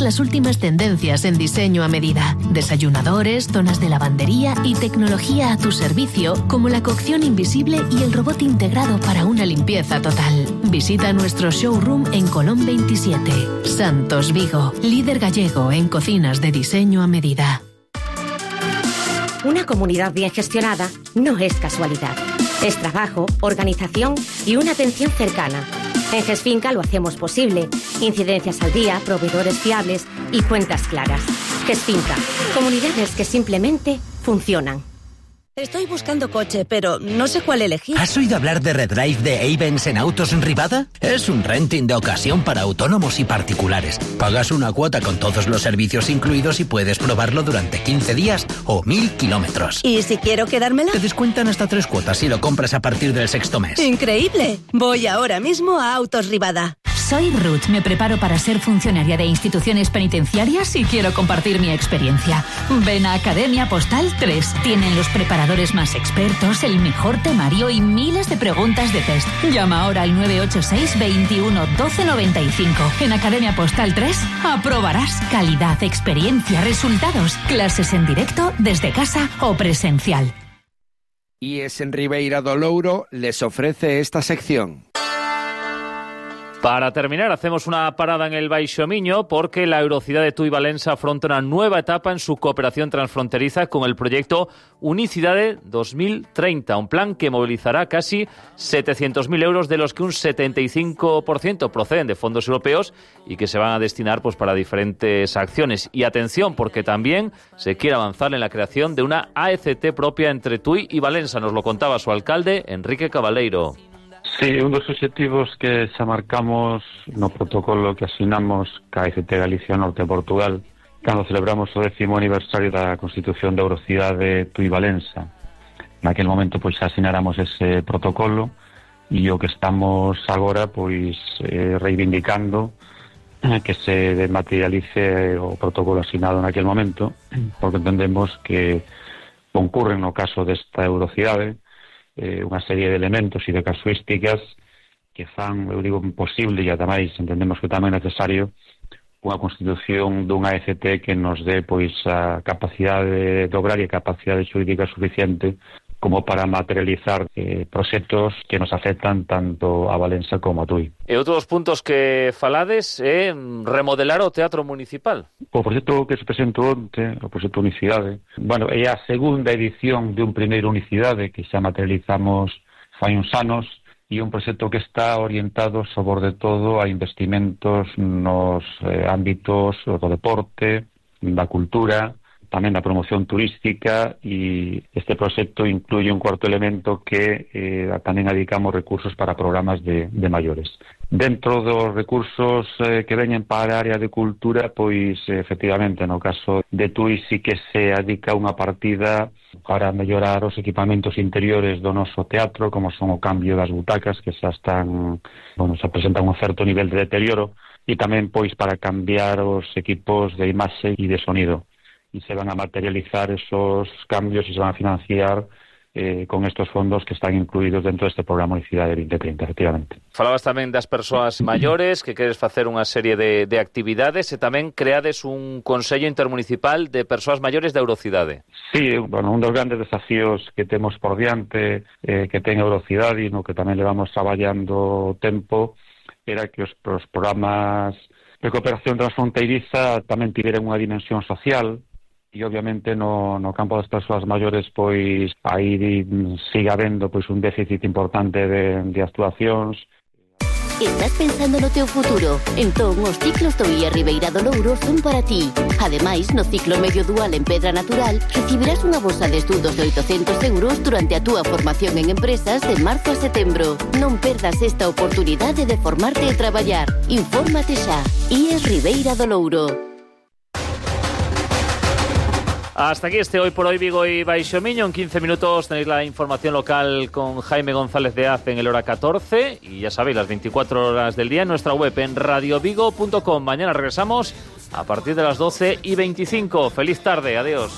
Las últimas tendencias en diseño a medida. Desayunadores, zonas de lavandería y tecnología a tu servicio, como la cocción invisible y el robot integrado para una limpieza total. Visita nuestro showroom en Colón 27. Santos Vigo, líder gallego en cocinas de diseño a medida. Una comunidad bien gestionada no es casualidad. Es trabajo, organización y una atención cercana. En GESFinca lo hacemos posible. Incidencias al día, proveedores fiables y cuentas claras. GESFinca, comunidades que simplemente funcionan. Estoy buscando coche, pero no sé cuál elegir. ¿Has oído hablar de Redrive de Avens en Autos en Rivada? Es un renting de ocasión para autónomos y particulares. Pagas una cuota con todos los servicios incluidos y puedes probarlo durante 15 días o 1000 kilómetros. ¿Y si quiero quedármela? Te descuentan hasta 3 cuotas si lo compras a partir del 6º mes. ¡Increíble! Voy ahora mismo a Autos Rivada. Soy Ruth, me preparo para ser funcionaria de instituciones penitenciarias y quiero compartir mi experiencia. Ven a Academia Postal 3. Tienen los preparadores más expertos, el mejor temario y miles de preguntas de test. Llama ahora al 986 21 12 95. En Academia Postal 3 aprobarás calidad, experiencia, resultados, clases en directo, desde casa o presencial. IES en Ribeira do Louro les ofrece esta sección. Para terminar, hacemos una parada en el Baixo Miño porque la Eurocidade Tui Valença afronta una nueva etapa en su cooperación transfronteriza con el proyecto Unicidade 2030, un plan que movilizará casi 700.000 euros, de los que un 75% proceden de fondos europeos y que se van a destinar pues para diferentes acciones. Y atención, porque también se quiere avanzar en la creación de una AECT propia entre Tui y Valença. Nos lo contaba su alcalde, Enrique Cabaleiro. Sí, un dos obxectivos que xa marcamos no protocolo que asinamos ca AECT Galicia Norte de Portugal cando celebramos o 10º aniversario da Constitución da Eurocidade Tui Valença. Naquel momento pois xa asináramos ese protocolo e o que estamos agora pois reivindicando que se materialice o protocolo asinado naquel momento, porque entendemos que concurren no caso desta Eurocidade unha serie de elementos e de casuísticas que fan, eu digo, posible, e ademais entendemos que tamén é necesario unha constitución dunha AECT que nos dé pois a capacidade de obrar e a capacidade xurídica suficiente como para materializar proxectos que nos afectan tanto a Valença como a Tui. E outros puntos que falades é remodelar o Teatro Municipal. O proxecto que se presentou onte, o proxecto Unicidade, bueno, é a segunda edición de un primeiro Unicidade que xa materializamos fai uns anos, e un proxecto que está orientado sobre todo a investimentos nos ámbitos do deporte, da cultura, tamén da promoción turística, e este proxecto incluye un cuarto elemento que tamén dedicamos recursos para programas de maiores. Dentro dos recursos que veñen para a área de cultura, pois efectivamente no caso de Tui sí que se adica unha partida para mellorar os equipamentos interiores do noso teatro, como son o cambio das butacas que xa están, xa presentan un certo nivel de deterioro, e tamén pois para cambiar os equipos de imaxe e de sonido. Y se van a materializar esos cambios y se van a financiar con estos fondos que están incluídos dentro deste programa Unicidade 2030, efectivamente. Falabas tamén das persoas maiores, que queres facer unha serie de actividades, e tamén creades un Consello Intermunicipal de Persoas Maiores da Eurocidade. Sí, bueno, un dos grandes desafíos que temos por diante, que ten a Eurocidade, e no que tamén levamos traballando tempo, era que os programas de cooperación transfronteiriza tamén tiveran unha dimensión social, e obviamente no campo das persoas maiores pois aí siga habendo pois un déficit importante de actuacións. ¿Estás pensando no teu futuro? Entón, os ciclos do IE Ribeira do Louro son para ti. Ademais, no ciclo medio dual en Pedra Natural, recibirás unha bolsa de estudos de 800 euros durante a túa formación en empresas de marzo a setembro. Non perdas esta oportunidade de formarte e traballar. Infórmate xa. IE Ribeira do Louro. Hasta aquí este Hoy por Hoy Vigo y Baixo Miño. En 15 minutos tenéis la información local con Jaime González de Az en el hora 14. Y ya sabéis, las 24 horas del día en nuestra web en radiovigo.com. Mañana regresamos a partir de las 12:25. Feliz tarde, adiós.